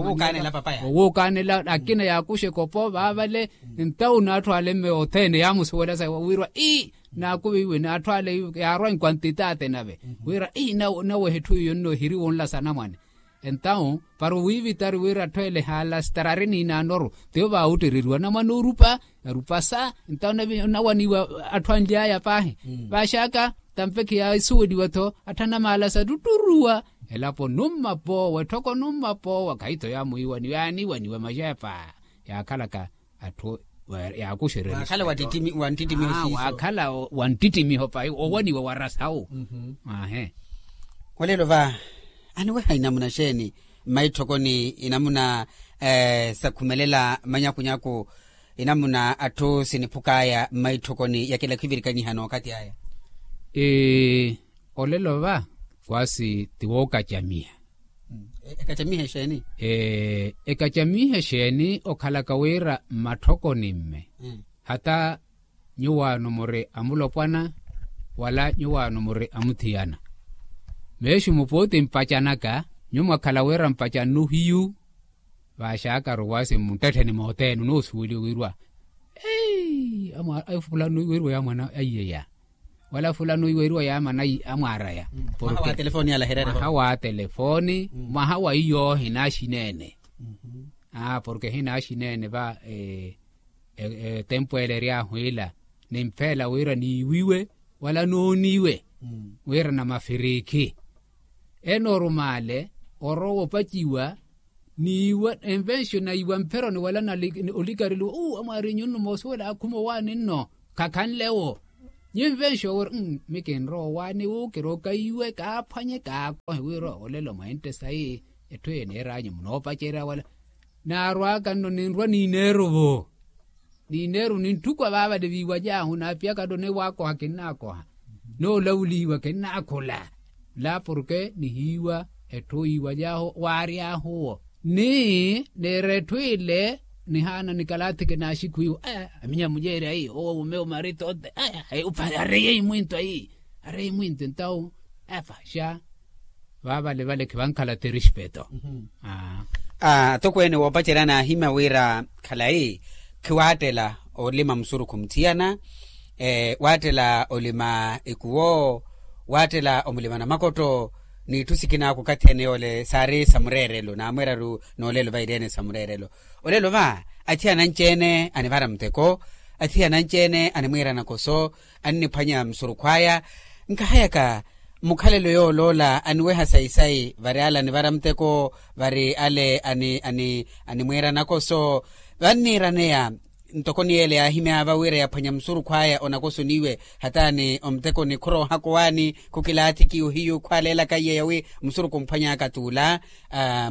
Owuukaanela akina yaakuxa ekopo vaavale. Ntawu n'atthu ale mme othene yaamusuwela sa wirwa ii naakuviwe n'atthu ale yaarwa enkwantitaate nave wirwa ii nawehe etthu iyo nno ehiri wunlasa anamwane. Entawu para owiivitari wira atthu ele haalastarari niinaanoru tiyo vaawuttereriwa anamwane orupa. Arupasa entawu onawaniwa atthu anly'aya paahi. Vaaxaka tampe khiyaasuweliwa-tho atthu anamaalasa tutturuwa. Elapo numma poowa etthoko numma poowa khayi-tho yaamwiiwaniwa yaaniwaniwa maxepa yaakhalaka atthu yaakuxererya. Waakhala wanttittimiho pahi owaniwa warasawu. Ahe. Olelo va aniweha inamuna xeeni mmaitthokoni inamuna sakhumelela manyakunyaku inamuna atthu siniphuk'aya mmaitthokoni yakela khwivirikaniha n'okhathi aya. Olelo va kwasi ti wookacamiha. Ekacamiha exeeni? Ekacamiha exeeni okhalaka wira mmatthokoni mme hata nyuwaano muri amulopwana wala nyuwaano muri amuthiyana. Meexi mupuuti mpacanaka nyuwo mwakhala wira mpacannu hiyu. Vaaxakaru waasi mmunttettheni moothene onoosuweliwa wirwa fulano wirwa ya mwana aiyeya. wala fulano iweriwa yaamana amwaaraya. Mwaha wa telefooni alahirere mwaha wa telefooni mwaha wa iyo hinaxineene. Porke hinaxineene va etempu ele eryaahu ila, nimpheela wira niiwiwe wala nooniwe wira na mafirikhi. Enormaale orowa opaciwa niiwa envenxo naiwa mpheroni wala na olikariluwa uu amwaari nyunnu moosuwela akhuma owaani nno khakhanle wo. Nyi nvenxo wira mi kinrowa owaani wu kirooka iwe kaaphwanye kaakohe wira olelo mweente sayi. Etthu eyi niiranyu munoopacerya wala naarwaka nno ninrwa niineeru vo. Niineeru nintthukwa vaavale viiwajaahu naapiyaka nno niwaakoha kinnaakoha. Noolavulyiwa kinnaakhula. La porke nihiiwa etthu iiwajaahu waaryaahu wo. Ni niira etthu ile nihaana nikalathike naaxikhu iwo aya aminya mujeeri ayi owo mume omarito ote aya areye imwinto ayi areye imwinto entawu. Efa xa vaavale vale khivankhala ti respeto. Atokweene woopacerya naahimya wira khalayi khiwaattela olima musurukhu muthiyana, waattela olima ikuwo, waattela omulima namakotto n'itthu sikinaaka okathi ene yoole saari sa mureerelo naamweeraru. Noolelo va ireene sa mureerelo olelo va athiyana anci-ene anivara muteko, athiyana anci-ene animwiira nakoso anniphwanya musurukhu aya. Nkahayaka mukhalelo yooloola aniweha sayi-sayi vari ale anivara muteko vari ale animwiira nakoso. Vanniiraneya ntoko ni ele yaahimyaava wira yaphwanya musurukhu aya onakoso niiwe hataani omuteko ni khuroohaka owaani khukilaathiki ohiyu khwaaleelaka iye yawi musurukhu omphwanyaka t'ula.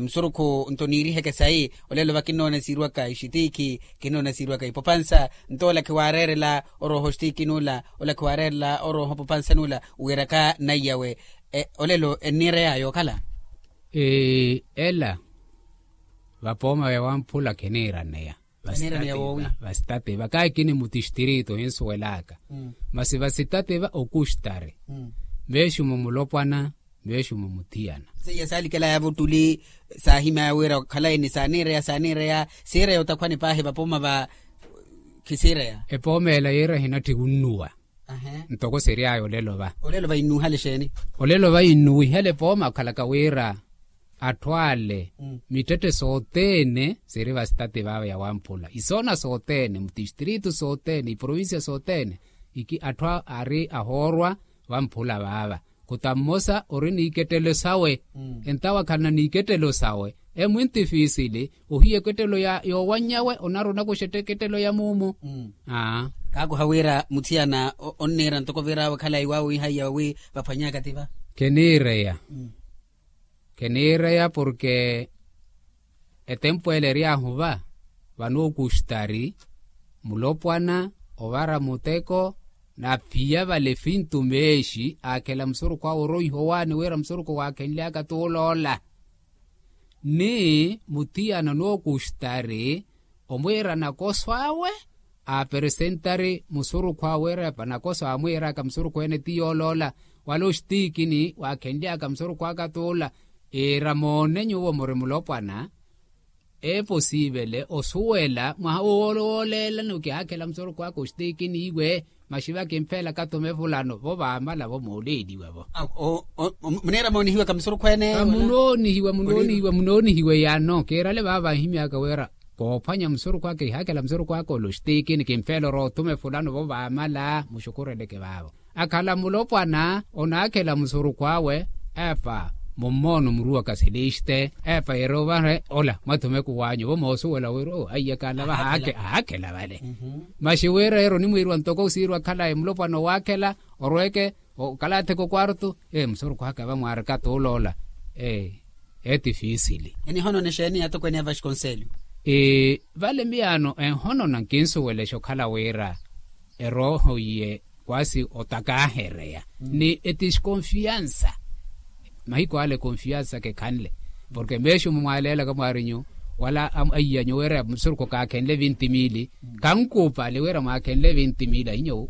Musurukhu nto niiriheke sayi olelo va kinnoona siiriwaka ixitiikhi kinnoona siiriwaka ipopansa. Nto ola khiwaareerela orooha oxitiikhi n'ula ola khiwaareerela orooha opopansa n'ula wiiraka naiyawe. Olelo enniireyaya okhala ela vapooma vya wamphula khiniiraneya vasitate va kaakini mutistritu hinsuwelaka masi vasitate va okustari. Veexumo mulopwana veexumo muthiyana seiya saalikelaya vuttuli. Saahimyaya wira khalayi ni saaniireya saaniireya siireya otakhwani paahi vapooma va khisiireya. Epooma ela yiira hinatthi wunnuwa ntoko siryaya olelo va. Olelo va innuwihale xeeni? Olelo va innuwihale pooma okhalaka wira atthu ale mitthette sothene siiri vasitati vava ya wamphula isoona sothene mutistritu sothene iprovincia sothene iki atthu aari ahoorwa vamphula vava. Khuta mmosa ori n'ikettelo sawe entawa khalina n'ikettelo sawe emwintifisili ohiya ekettelo ya yoowannyawe onaruna kuxetta ekettelo ya muumu. Kaakuha wira muthiyana onniira ntoko virawe khalayi waawiihaiya wi vaphwanyaka ti va. Kheniireya kheniireya porke etempu ele eryaahu va vano okustari mulopwana ovara muteko na phiya vale fintu meexi aakhela musurukhu awe oroiha owaani wira musurukhu waakhenlyaka t'uloola. Ni muthiyana n'okustari omwiira nakoso awe aaperesentari musurukhu awe wira vanakoso aamwiiraka musurukhu ene ti yooloola wala oxitiikini waakhenlyaka musurukhu aka t'ula. Iira moone nyuwo muri mulopwana eposiivele osuwela mwaha wooleelani okihaakhela musurukhu aka oxitiikini iwe. Maxi vakimpheela katume fulano vo vaamala vo mooleeliwa vo. Muniira moonihiwaka musurukhu ene munoonihiwa munoonihiwa munoonihiwa eyano kiirale vaava vanhimyaka wira koophwanya musurukhu aka ihaakhela musurukhu aka ole oxitiikini kimpheela orowa otume fulano vo vaamala muxukhureleke vaavo. Akhala mulopwana onaakhela musurukhu awe epa mummoona omuruwaka seleste epa yeerovahe ola mwathumeke owaanyu vo moosuwela wira aiya kala vaha aakhela vale. Maxi wira yeero onimwiiriwa ntoko osiiriwa khalayi mulopwana owaakhela orweke okalatheke okwartu. Musurukhu aka vamwaarika t'uloola etifiisili. Enihonona exeeni atokweene ya vaxikonselyo? Vale miyaano enhonona nkinsuwelexa okhala wira erooho iye kwasi otakaahereya ni etiskonfiansa. Mahiku ale konfiansa kekhanle porke meexumo mwaaleelaka mwaarinyu wala aiyanyu wira musurukhu kaakhenle vinti mili kankuupali wira mwaakhenle vinti mili ahinyowo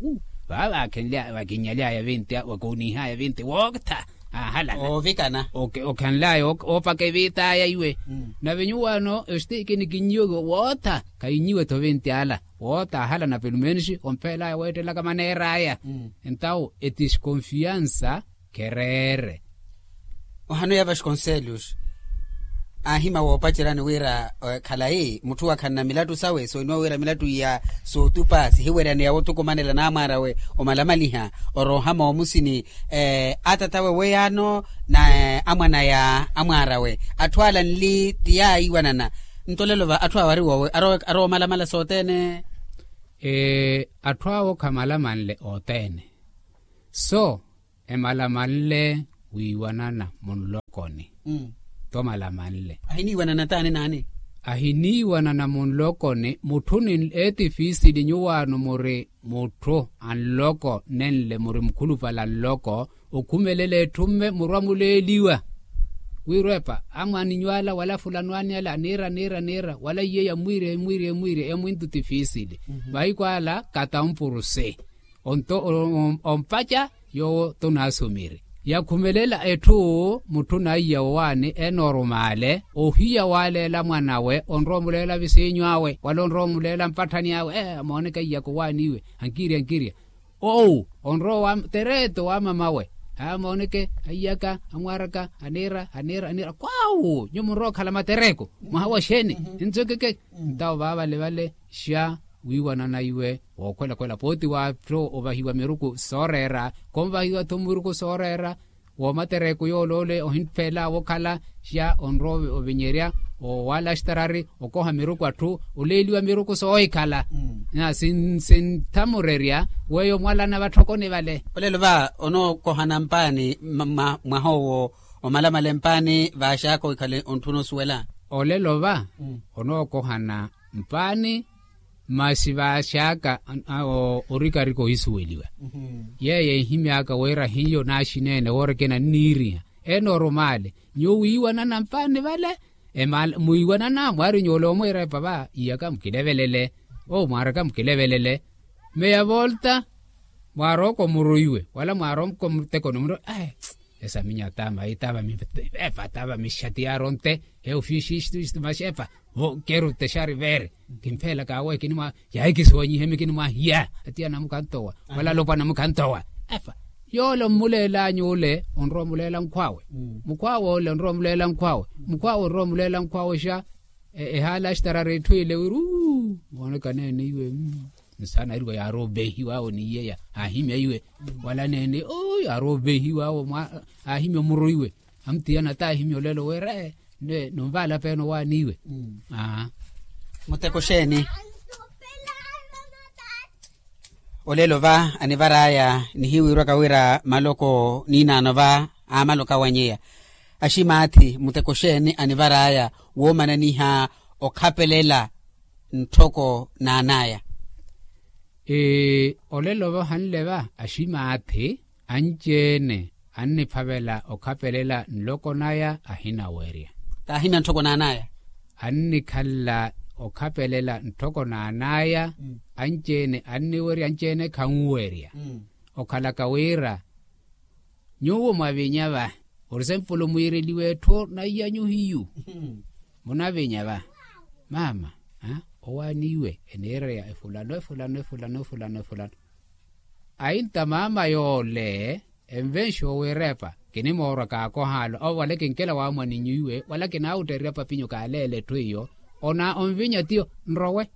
vaava vaakhenle vakinyalyaya vinti wakoonihaya vinti wootha ahalana ovikana okhanlaya oopaka eviitaya iwe. Nave nyuwaano exitiikini kinnyiwe wootha khayinnyiwe-tho vinti ala. Woota ahalana pelumenexi ompeelaya weettelaka maneer'aya. Entawo etiskonfiansa khereere. Ohanoya vasconcelos aahima woopaceryani wira khalayi mutthu wakhanna milattu sawe sooniwa wira milattu iya sootupa sihiweryaneya wootukumanela naamwaar'awe omalamaliha oroohama omusini. Atat'awe weyaano na amwanaya amwaar'awe atthu ala nli ti yaayiwanana. Nto lelo va atthu awo ari woowe aroomalamala sothene. Atthu awo khamalamanle othene so emalamanle wiiwanana munlokoni. Tomalamanle ahiniiwanana taani naani? Ahiniiwanana munlokoni mutthu ni eetifiisili nyuwaano muri mutthu anloko nenle muri mukhulupale anloko okhumelela etthu mme murwa muleeliwa. Wirwepa amwaninyu ala wala fulano ani ala aniira aniira aniira wala iye yamwiirya emwiirya emwiirya emwintu tifiisili. Mahiku ala katampuruse onto ompaca yoowo tonaasumiri yakhumelela etthu mutthu naiya owaani enoorumaale ohiya waaleela mwanawe onrowa omuleela visiinyu awe wala onrowa omuleela mpatthani awe. Amooneke aiyaka owaani iwe ankiirya ankiirya owu onrowa tereto wa mamawe. Amooneke aiyaka amwaaraka aniira aniira aniira kwawu nyuwo munrowa okhala matereku mwaha wa xeeni? Ntsokeke ntawo vaavalevale xa wiiwanana iwe wookhwelakhwela pooti waattho ovahiwa miruku sooreera konvahiwa-tho miruku sooreera. Woomatereku yool'ole ohinpheela wookhala xa onrowa ovinyerya owaala axtarari okoha miruku atthu oleeliwa miruku soohikhala. Sinthamurerya weyo mwalana vatthokoni vale. Olelo va onookohana mpaani mwaha owo omalamale mpaani vaaxaka ohikhale ontthuna osuwela. Olelo va onookohana mpaani masi vaaxaka orikarika ohisuweliwa. Yeeyo enhimy'aka wira hiyo naaxineene woorikina nniiriha enoorumaale nyuwo wiiwanana mpaani vale. Mwiiwanana mwaari nyuwo ole omwiira epa va iyaka mukilevelele owo mwaaraka mukilevelele. Meya volta mwaarooka omuru iwe wala mwaarooka omutekoni omuru. Esaminya tava mayi tava epa tava mixati yaaronte he ofixixiximaxepa vo keru texari veeri. Kimpheelaka awe kinimwa yaahikisiwanyihemi kinimwahiya atiya namukhantowa wala alopwana mukhantowa. Efa yoole ommuleel'anyu ole onrowa omuleela nkhw'awe. Mukhw'awe ole onrowa omuleela nkhw'awe mukhw'awe onrowa omuleela nkhw'awe xa. Ehaala axtarara etthu ile wiri uu mooneka neene iwe. Nsaana ariwa yaarowa obeehiwa awo ni iyeya aahimya iwe wala neene oo yaarowa obeehiwa awo aahimya omuru iwe. Amutiyana taahimya olelo wira ee nonvaala peene owaani iwe. Muteko xeeni? Olelo va anivar'aya nihiwiirwaka wira maloko niinaano va aamaloka wanyeya aximaathi muteko xeeni anivar'aya woomananiha okhapelela ntthoko naan'aya? Olelo va ohanle va aximaathi anci-ene anniphavela okhapelela nloko naya ahinawerya. Kaahimya nttoko naan'aya annikhala okhapelela nttoko naan'aya. Anci-ene anniwerya anci-ene khanwerya. Okhalaka wira nyuwo mwavinya va ori sempolo mwiireliwe etthu naiyanyu hiyu munavinya va mama owaani iwe eniireya efulano efulano efulano efulano efulano. Ainta mama yoole envenxi owiirepa kinimoorwa kaakohaalo awo wala kinkela waamwaninyu iwe wala kinaawuttererya papinyu kaaleela etthu iyo ona onvinya tiyo nrowe.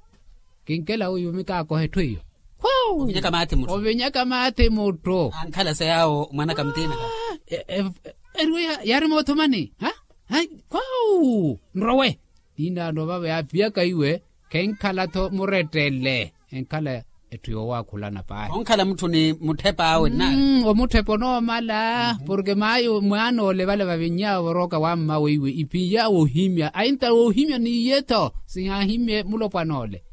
Kinkela uyumi kaakoha etthu iyo. Ovinyaka maathi mutthu ankhala sa yaawo mwanaka mutiina. Eriwe yaari moothomani khwawu nrowe. Niinaano vava yaaviyaka iwe khenkhala-tho murettele enkhala etthu yoowaakhulana paahi. Onkhala mutthu ni mutthepa awe nnaani omutthepa onoomala porke maayo mwaana ole vale vaviny'awe vorooka wa mmawe iwe iphiya woohimya ainta woohimya n'iye-tho sihaahimye mulopwana ole.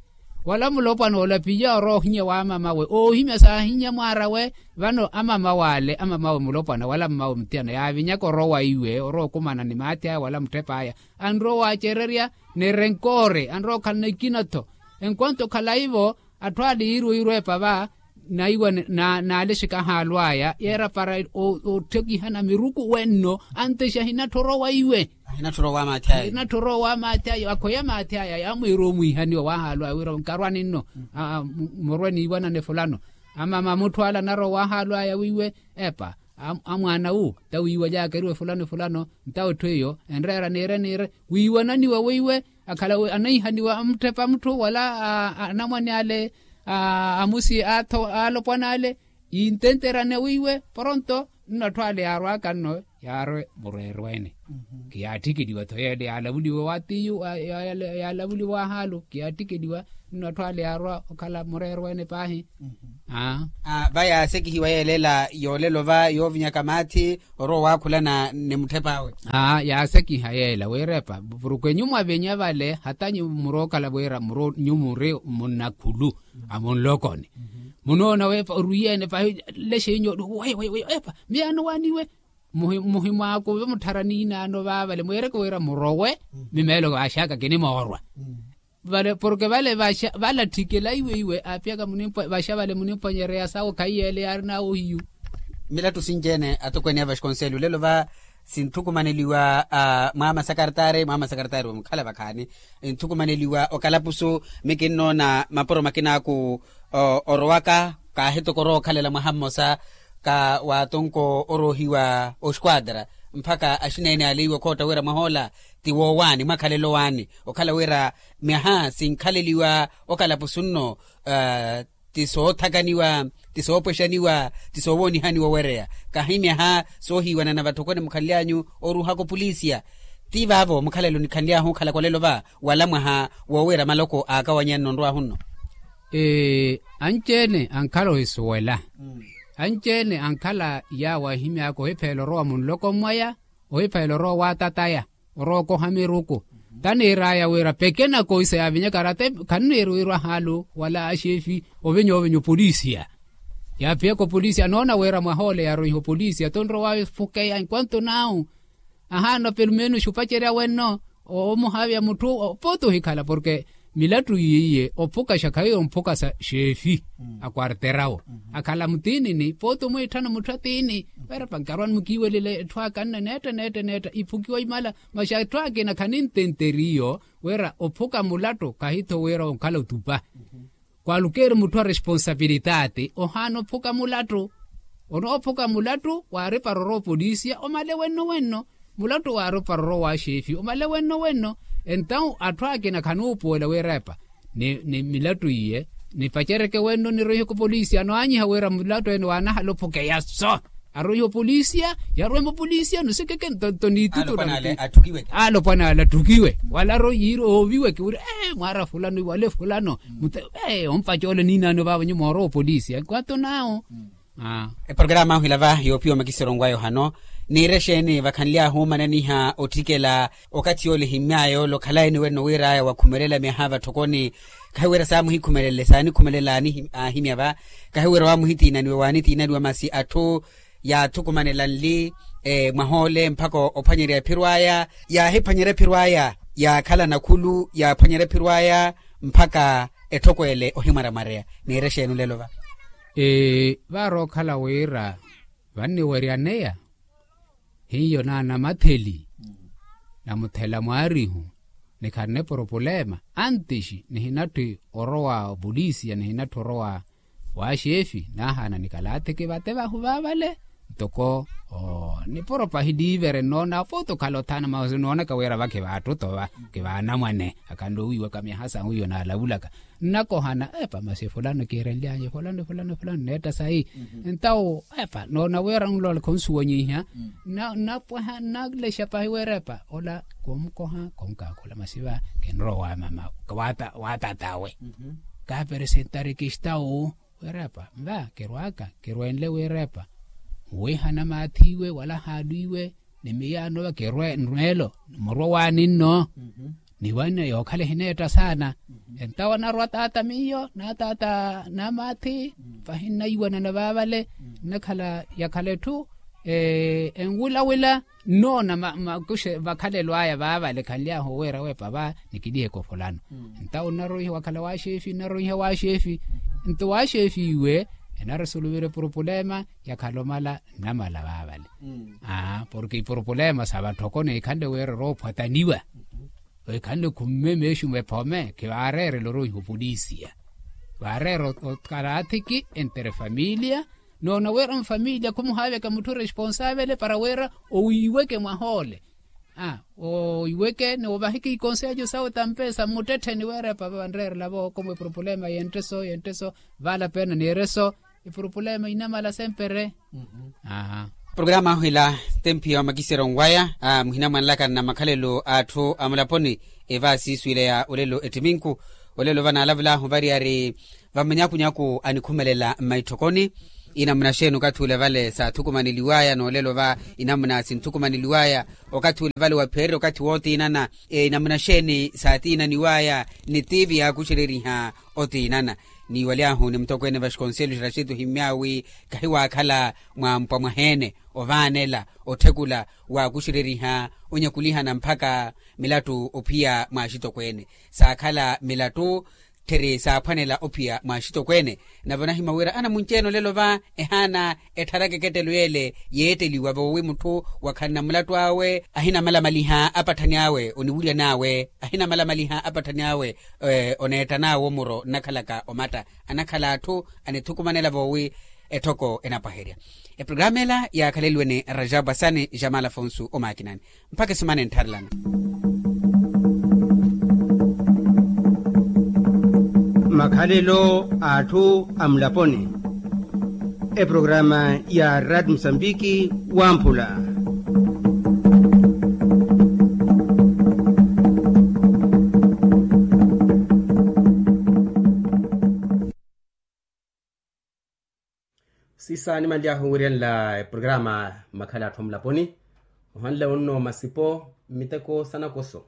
Wala mulopwana ole aphiya orowa ohinya wa mamawe oohimya saahinya mwaar'awe. Vano amamawe ale amamawe mulopwana wala mmawe mutiyana yaavinyaka orowa iwe orowa okumana ni maathi aya wala mutthep'aya anrowa owaacererya ni renkoore anrowa okhalana ikina-tho. Enkwonto okhala ivo atthu ale yiiriwa oyiirwa epa va naiwa naalexeka ahaalu aya yeera para otthekihana miruku wenno antexa ahinattha orowa iwe. Hinatthura owamaathi aya. Hinatthura owamaathi aya akhoya maathi aya yaamwiira omwiihaniwa wahaalu aya wira nkarwani nno. Murwe niiwanane fulano. Amama mutthu ala anarwa wahaalu aya wiiwe epa amwaana wu tawiiwalyaka eriwe fulano fulano. Ntawo etthu eyo enreera niire niire wiiwananiwa weiwe akhala anahihaniwa amutthepa mutthu wala anamwane ale amusi atho alopwana ale. Intenterane wiiwe poronto nno atthu ale yaarwaka nno yaarwe mureerweene. Kiyaatthikeliwa-tho yeele yaalavuliwa wa tiyu yaalavuliwa wahaalu kiyaatthikeliwa. Nno atthu ale yaarwa okhala mureerweene paahi. Aa va yaasekihiwa yeela ela yoolelo va yoovinyaka maathi orwa owaakhulana ni mutthep'awe. Aa yaasekiha yeela wiirepa purukwe nyumwa vinya vale hata nyumwa murookhala wira muro nyumwa ori munnakhulu amunlokoni. Munoona wepa orwiyeene pahi lexe inyo wewe epa miyaano waaniwe. Muhimwaakuve muttharani inaano vaavale mweereke wira murowe. Mimeelo vaaxaka kinimoorwa vale porke vale valatthikela iwe iwe aapiyaka munimpwa vaxa vale munimpwanyereya sawo khayi yeele yaarinawe ohiyu. Milattu sinci-ene atokweene a vasconcello lelo va sinthukumaneliwa mwaama sakartaari mwaama sakartaari wa mukhala vakhaani. Nthukumaneliwa okalapusu mikinnoona mapuro makinaaku orowaka kaahitokora okhalela mwaha mmosa ka waatonko oroohiwa oxquadra mpakha axineene ale iwe khootta wira mwahoola ti woowaani mwakhalelo waani okhala wira myaha sinkhaleliwa okalapusu nno ti soothakaniwa ti soopwexaniwa ti soowoonihaniwa owereya kahi myaha soohiiwanana vatthokoni mukhanly'anyu oruuhaka opolisiya. Ti vaavo mukhalelo nikhanly'ahu okhalaka olelo va wala mwaha woowira maloko aakawanya nno nrw'ahu nno. Anci-ene ankhala ohisuwela anci-ene ankhala yaawo ahimy'aka ohipheela orowa munloko mwaya ohipheela orowa waatataya orowa okoha miruku. Taniir'aya wira pekena koisa yaavinyaka arate khanniiri wirwa haalu wala axeefi ovinya ovinya opolisiya. Yaaphiyaka opolisiya anoona wira mwaha ole yaaroiha opolisiya tonrowa wawe fukeya enkwanto naawu ahaana pelumenuxi opacerya wenno omuhaavya mutthu pooti ohikhala porke milattu yiiye ophukaxa khahiyo omphukasa xeefi akwarterawo akhala mutiinini pooti omwiitthana mutthu atiini. Weerepa nkarwani mukiiwelele etthu aka nne neetta neetta neetta iphukiwa imala. Masi etthu akina khanintenteriyo wira ophuka mulattu khahi-tho wira onkhala otupa kwalukeeri mutthu a responsabilitaati ohaana ophuka mulattu. Onoophuka mulattu waaripara orowa opolisiya omale wenno wenno mulattu waaripara orowa waaxeefi omale wenno wenno. Entawu atthu akina khanuupuwela wiirepa ni milattu iye nipacereke wenno niroihe kopolisiya anowanyiha wira mulattu ene waanahala ophukeya so aroihe opolisiya yarwema opolisiya nosikeke nto niitutu alopwana ale atthukiwe wala aroihe yiiri ooviweke wira ee mwaara fulano wale fulano. Ompaca ole niinaano vaavo nyuma orowa opolisiya nkwanto naawo. Eporokaramu ahu ila va yoopiwa makisero ngwa yohano niire exeeni vakhanly'ahu omananiha otthikela okathi yoole ehimmy'aya ole okhala eni wenno wiir'aya wakhumelela myaha vatthokoni. Khahiwira saamuhikhumelele saanikhumelela aahimya va khahiwira waamuhitiinaniwa waanitiinaniwa masi atthu yaathukumanela nli mwaha ole mpakha ophwanyerya ephiro aya yaahiphwanyerya ephiro aya yaakhala nakhulu yaaphwanyerya ephiro aya mpakha etthoko ele ohimwaramwareya. Niire exeeni olelo va vaarookhala wira vanniweryaneya hiyo naanamatheli namuthela mwaarihu nikharina eporopulema antixi nihinatthi orowa opolisiya nihinatthi orowa waaxeefi naahaana nikalaathi kivate vahu vaavale. Ntoko nipuro pahi liivere nnoona afooti okhala othana masi noonaka wira vakhi vaattuto va kivaanamwane akhanle owiiwaka myaha sahu iyo naalavulaka nnakohana epa masi fulano kiirenly'anyu fulano fulano fulano neetta sayi. Ntawo epa noona wira nlole khonsuwanyiha nnapwaha nnalexa pahi wira epa ola koomukoha koomukakhula masi va kinrowa waamama waatat'awe. Kaaperesentari kistawu wira epa nva kirwaaka kirwenle wira epa nwiihana maathiiwe wala haalwiiwe ni miyaano va kirwe nrweelo murwa waani nno. Ni wanne yookhala ehineetta saana entawo narwa taata miyo na taata namaathi pahi nnaiwanana vaavale nnakhala yakhala etthu enwilawila nnoona makuxe vakhalelo aya vaavale khanly'ahu oweera weepa va nikiliheke ofulano. Entawo nnaroiha wakhala waaxeefi nnaroiha waaxeefi nto waaxeefi iwe Enaresuluwira epurupulema yakhala omala nnamala vaavale. Porke ipurupulema sa vatthoko neekhanle wira oroophwataniwa, weekhanle okhumme meexumo ephome khivaareerela orooiha opolisiya. Vaareera okaraathiki entre familia. Noona wira mfamilia khumuhaaveka mutthu responsavele para wira owiiweke mwahoole. Owiiweke ni ovahiki ikonselho sawe tampesa mmuttettheni wira epapa vanreerela vookomwe purupulema yentte so yentte so. Vaala peena neereso epurupulema inamala sempere. Purupulema ahu ila tempi ya omakiseryo nwaya muhina mwanlaka nna makhalelo a atthu a mulaponi. Evaasiiswiile ya olelo ettiminku olelo vanaalavulaahu variyari vamanyakunyaku anikhumelela mmaitthokoni. Inamuna xeeni okathi ule vale saathukumaneliwaya noolelo va inamuna sinthukumaneliwaya okathi ule vale wapheererya okathi wootiinana? Inamuna xeeni saatiinaniwaya ni tiivi yaakuxereriha otiinana? Niiwaly'ahu ni mutokweene va xikonselho xiraxetu ohimmy'awe kahiwaakhala mwampwa mwaheene ovaanela otthekula waakuxereriha onyakulihana mpakha milattu ophiya mwa axitokweene. Saakhala milattu tthiri saaphwanela ophiya mwa axitokweene. Nave onahimya wira anamunci-ene olelo va ehaana ettharaka ekettelo yeele yeetteliwa voowi mutthu wakhalana mulattu awe ahina malamaliha apatthani awe oniwulyan'awe ahina malamaliha apatthani awe oneettan'awe omuro nnakhalaka omatta anakhala atthu anithukumanela voowi etthoko enapwaherya. Eprogramu ela yaakhaleliwe ni rajabu asani jamal afonsu omaakinani. Mpakha esimana enttharelana. Makhalelo a atthu a mulaponi. Eprogramu ya rad musambiki wamphula. Siisa nimanly'ahu wiryanla eprogramu makhala atthu a mulaponi. Ohanle onno masipo mmiteko sa nakoso.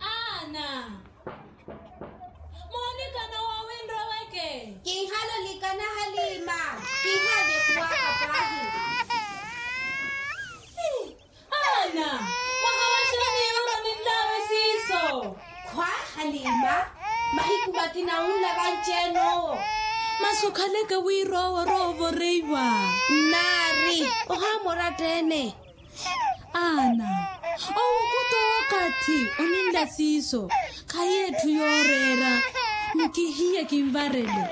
Ana, moonikana waawinroweke. Kinhale olikana halima. Kinhale kuwaka pahi. Ana, mwahawaxani yoola oninlaawe siiso. Khwa, halima. Mahiku makina unla vanci-ene owo. Masi okhaleke wira owo oroovoreiwa. Nnaari. Ohaamora ottene. Ana, owo khuto okathi oninla siiso. Khayi etthu yooreera. Nkihiye kinvarele.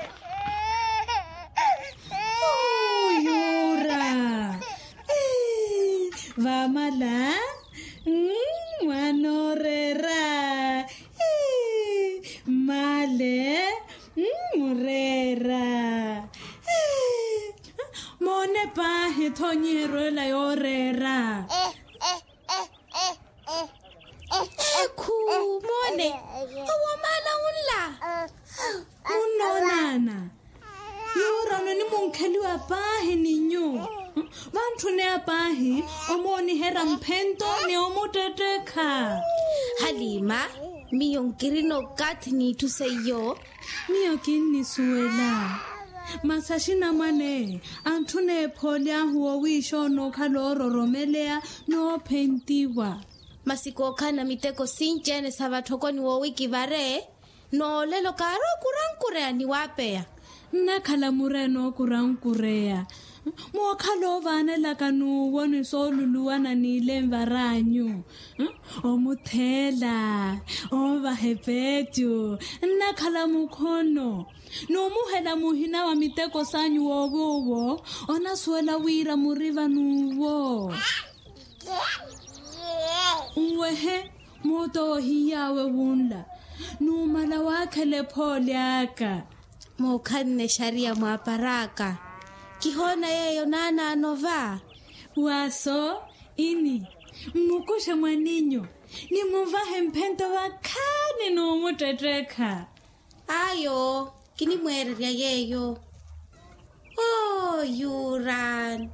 Yuura. Vaamala. Mwaana ooreera. Mmale. Mureera. Moone paahi tho onyiheryo ela yooreera. Ekhu, moone. Owo maala unla. Munnoonana. Yuura ononimunkheliwa paahi ni nyuwo. Vantthuneya paahi omooniherya mphento ni omuttettekha. Halima, miyo nkirina okathi n'itthu seiyo. Miyo kinnisuwela. Masi axinamwane antthuneya ephooli ahu woowiixa onookhala oororomeleya noophentiwa. Masi kookhalana miteko sinci-ene sa vatthokoni woowikivare. Noolelo kaari okurankureya ni waapeya. Nnakhala mureene okurankureya. Mookhala oovaanelaka n'uwo ni sooluluwana n'ilenvar'anyu. Omutheela. Oovaha epeecu. Nnakhala mukhono. N'umuhela muhina wa miteko s'anyu woowuwo. Onasuwela wira muri van'uwo. Nwehe. Moota owo ohiy'awe wunla. Numala waakhela ephooli aka. Mookhanne exariya mwaapar'aka. Kihoona yeeyo naanaano va. Waaso ini. Mmukuxe mwaninyu. Nimunvahe mphento vakhaani n'umuttettekha. Ayo, kinimweererya yeeyo. Oo yuran.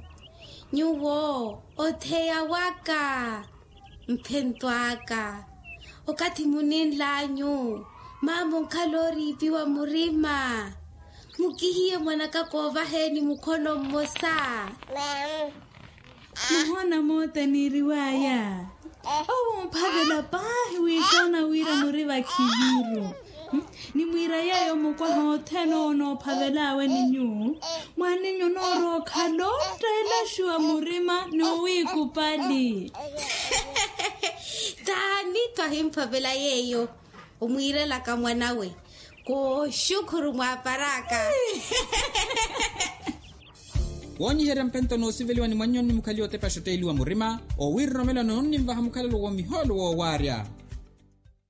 Nyuwo otheya waka. Mphento aka. Okathi muninl'anyu. Maama onkhala ooriipiwa murima. Mukihiye mwanaka koovaheeni mukhono mmosa. Muhoona moota eniiriw'aya. Owo omphavela paahi wiixoona wira muri vakhiviru. Nimwiira yeeyo mukwaha othene owo noophavel'awe ni nyuwo. Mwaninyu onoorowa okhala ottela xuwa murima ni owiikupali. Taani twahimphavela yeeyo. Omwiirelaka mwanawe kooxukhuru mwaapar'aka. Woonyiherya mpento noosiveliwa ni mwannyoni mukhaliwa otepa xotteeliwa murima owiiroromela noonnimvaha mukhalelo woomihoolo woowaarya.